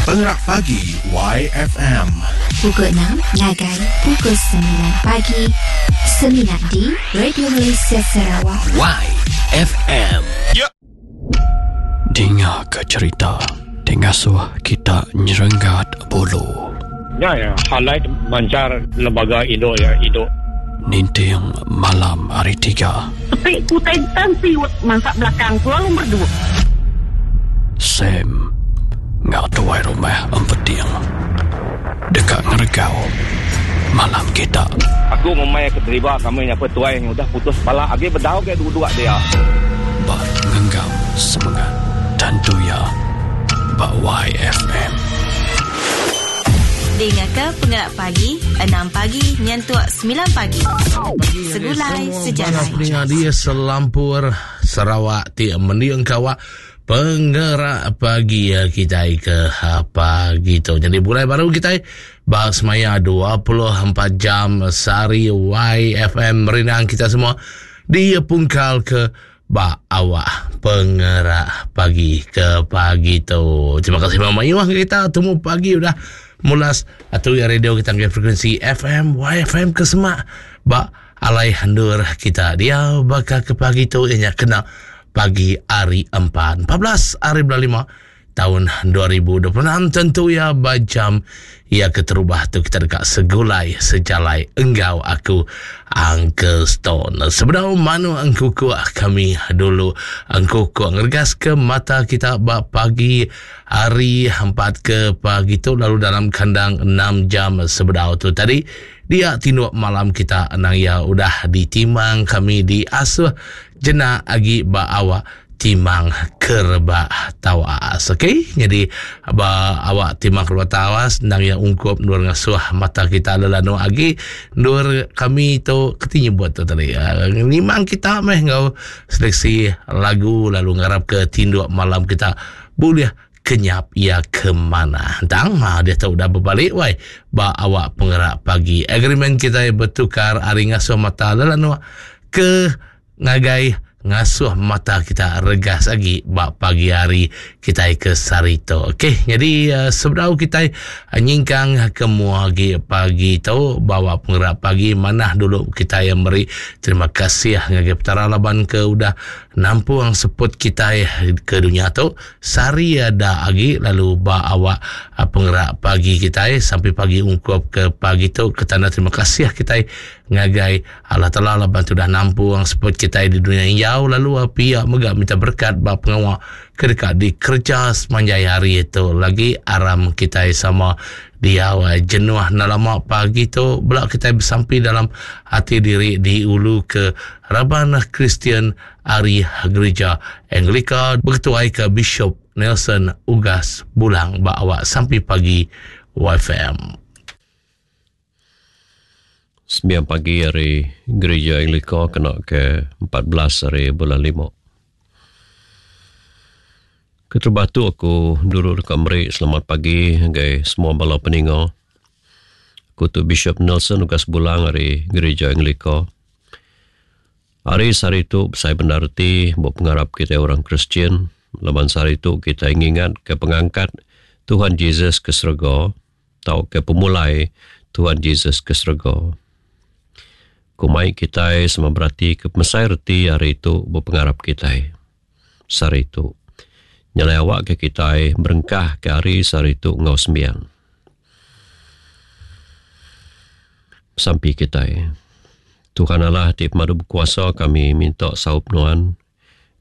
Pengerak Pagi YFM. Pukul 6 ngagai pukul 9 pagi. Semina di Radio Malaysia Sarawak. YFM. Dinga ke cerita ti ngasuh kita nyerenggat bulu. Nya ya highlight manchar lembaga indu ya indu. Ninting malam hari tiga. Sepi ku tan siut mansa belakang ku lalu merdu. Sam enggau tuai rumah Empeting deka ngeregau malam kita. Aku ngumbai ke deriba kami nya pun tuai nya udah putus pala agi bedau ke duduk dia. Ba ngenggam semengat tentu iya ba YFM. Dingaka Pengerak Pagi, enam pagi nyentuk semilan pagi. Segulai sejalai. Peninga di selampur Sarawak ti mending kawak Pengerak pagi eh, kita ke ha, pagi tu. Jadi mulai baru kita ba semaya 24 jam sehari YFM merindang kita semua di pungkal ke ba awak pengerak pagi ke pagi tu. Terima kasih Mama Iwah kita temu pagi udah mulas atau ya radio kita ke frekuensi FM YFM ke semak ba alai hendur kita dia baka ke pagi tu ianya kena pagi hari 4 14 hari bulan 5 tahun 2026 tentu ya ba jam ya keterubah tu kita dekat segulai sejalai enggau aku Uncle Stone. Sebedau manu engkuku kami dulu engkuku ngeregas ke mata kita ba pagi hari 4 ke pagi tu lalu dalam kandang 6 jam sebedau tu tadi dia tinduk malam kita nang ya udah ditimang kami diasuh Jenak agi ba awak timang kerebak tawas. Okey, jadi ba awak timang kerebak tawas endang iya ungkup endur ngasuh mata kita lelanu agi endur kami tu keti nyebut tu tadi. Nimang kita meh enggau seleksi lagu lalu ngarap ke tinduk malam kita bulih kenyap iya ke manah. Tang ha diatu udah bebalik wai ba awak pengerak pagi. Agreement kitai betukar ari ngasuh mata lelanu ke ngagai ngasuh mata kita regas agi ba pagi hari kitai ke sehari tu. Okey, jadi uh, sebedau kitai uh, nyingkang ke mua agi pagi tu bawa pengerak pagi manah dulu kitai yang meri terima kasih ngagai Petara laban ke udah nampung seput kitai ke dunya tu sehari ada agi lalu ba awak uh, pengerak pagi kitai sampai pagi ungkup ke pagi tu ke tanda terima kasih kitai ngagai Allah Taala laban ti udah nampung seput kitai di dunya injau lalu pia mega minta berekat ba pengawa ke deka dikereja semanjai hari tu lagi aram kitai sama diau jenuh enda lama pagi tu bela kitai besampi dalam ati diri di ulu ke raban Kristian ari Gerija Anglika beketuai ke Bishop Nelson Ugas Bulang ba awak sampi pagi YFM. Sembiang pagi ari Gerija Anglika kena ke 14 ari bulan lima. Keterubah tu aku dulu deka meri selamat pagi ngagai semua bala peninga. Aku tu Bishop Nelson Ugas Bulang ari Gerija Anglika. Hari sehari tu besai bendar reti ba pengarap kitai orang Kristian laban sehari tu kitai ngingatka pengangkat Tuhan Jesus ke serega tauka pemulai Tuhan Jesus ke serega. Ku mai kitai sama beratika pemesai reti hari tu ba pengarap kitai sehari tu. Nyelai awakka kitai berengkahka hari sehari tu enggau sembiang. Besampi kitai. Tuhan Allah ti pemadu bekuasa kami minta saup Nuan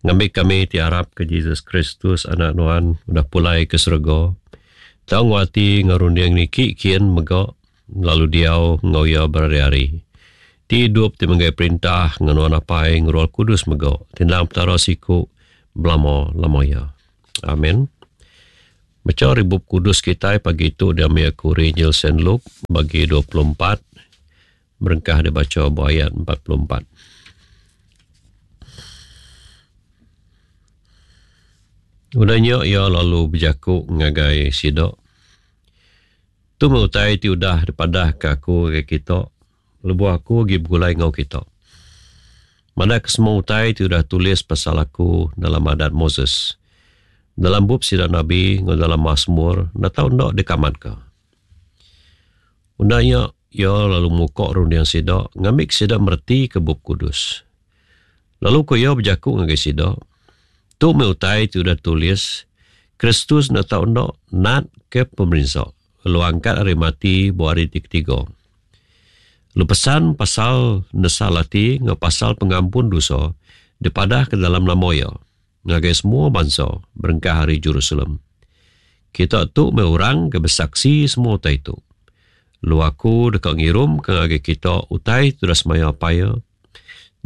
Ngambi kami ti arapka Jesus Kristus Anak Nuan udah pulai ke serega, tau enggau ati enggau runding niki kin mega lalu diau enggau Iya berari-ari. Ti idup ti menggai perintah enggau Nuan Apai enggau Roh Kudus mega ti endang Petara siku belama-lama iya. Amen. Bacha ari Bup Kudus kitai pagi tu diambi aku ari Injil Saint Luke bagi 24 Berengkah dibacha ba ayat 44. Udah nya iya lalu bejaku ngagai sida, Tu meh utai ti udah dipadahka aku ngagai kita lebuh aku agi begulai enggau kita. Madahka semua utai ti udah tulis pasal aku dalam Adat Moses. Dalam bup sida nabi enggau dalam Masmur enda tau enda dikamatka. Udah nya, iya lalu muka runding sida ngambika sida meretika Bup Kudus. Lalu ku iya bejaku ngagai sida, Tu meh utai ti udah ditulis, Kristus enda tau enda natka pemerinsa, lalu angkat ari mati ba hari ti ketiga. Lalu pesan pasal nesal ati enggau pasal pengampun dosa dipadahka dalam nama iya ngagai semua bansa berengkah ari Jerusalem. Kita tu meh orang ke besaksi semua utai tu. Lalu aku deka ngirumka ngagai kita utai ti udah semaya Apai iya.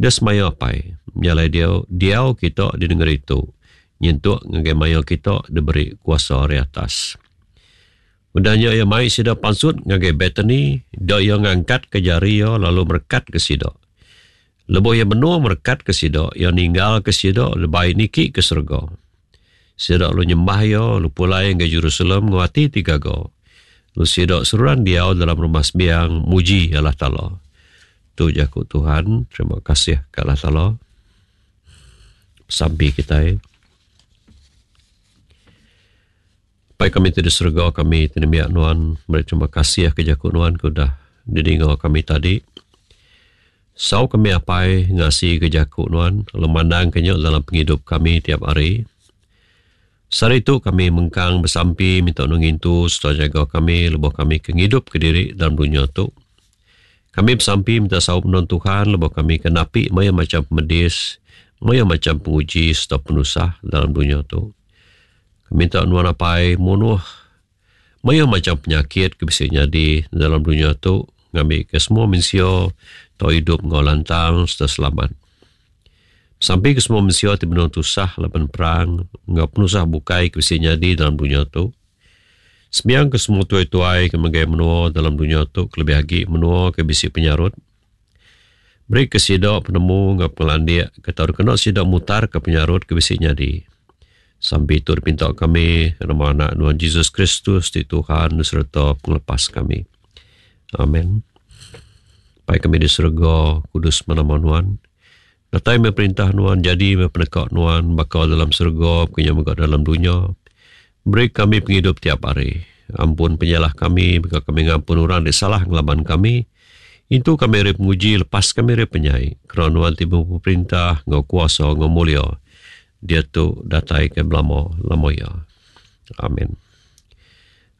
Deh semaya Apai, nya alai diau diau kita di nengeri tu nyentuk ngagai maya kita diberi kuasa ari atas. Udah nya iya mai sida pansut ngagai Betani, dia iya ngangkatka jari iya lalu merekatka sida. Lebuh iya benung merekatka sida, iya ninggalka sida lebai niki ke serega. Sida lalu nyembah iya lalu pulai ngagai Jerusalem enggau ati ti gaga. Lalu sida seruran diau dalam rumah sembiang muji Allah Taala. Tu jaku Tuhan, terima kasih ka Allah Taala. Sampi kitai. Pai kami ti di serega kami ti nembiak nuan meri terima kasih ke jaku nuan ke udah didinga kami tadi. Sau kami apai ngasi ke jaku nuan lalu mandang ke nya dalam pengidup kami tiap hari. Sehari tu kami mengkang besampi minta nuan ngintu sereta nyaga kami lebuh kami ke ngidupka diri dalam dunya tu. Kami besampi minta saup nuan Tuhan lebuh kami ke napi mayuh macham pemedis, mayuh macham penguji sereta penusah dalam dunya tu. Kami minta nuan Apai munuh mayuh macham penyakit ke bisi nyadi dalam dunya tu ngambika semua mensia tau idup enggau lantang sereta selamat. Sampi ke semua mensia ti benung tusah laban perang enggau penusah bukai ke bisi nyadi dalam dunya tu. Sembiang ke semua tuai-tuai ke megai menua dalam dunya tu kelebih agi menua ke bisi penyarut. Beri ke sida penemu enggau pengelandik ke tau dikena sida mutarka penyarut ke bisi nyadi. Sampi tu dipinta kami nama anak nuan Jesus Kristus ti Tuhan sereta pengelepas kami. Amen. Pai kami di serega, kudus meh nama nuan. Datai meh perintah nuan, jadi meh peneka nuan baka dalam serega baka nya mega dalam dunya. Beri kami pengidup tiap hari. Ampun penyalah kami baka kami ngampun orang ti salah ngelaban kami. Intu kami ari penguji, lepas kami ari penyai. Kerana nuan ti bempu perintah enggau kuasa enggau mulia diatu datai ke belama lama iya. Amin.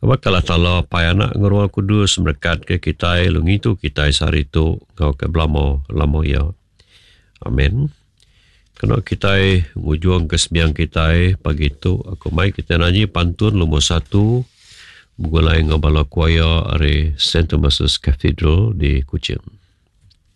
Awakka Allah Taala Apai Anak enggau Roh Kudus merekatka kitai lalu ngintu kitai sehari tu enggau ke belama lama iya. Amin. Kena kitai ngujungka sembiang kitai pagi tu aku mai kitai nanyi pantun lumur satu begulai enggau bala choir ari Saint Thomas's Cathedral di Kuching.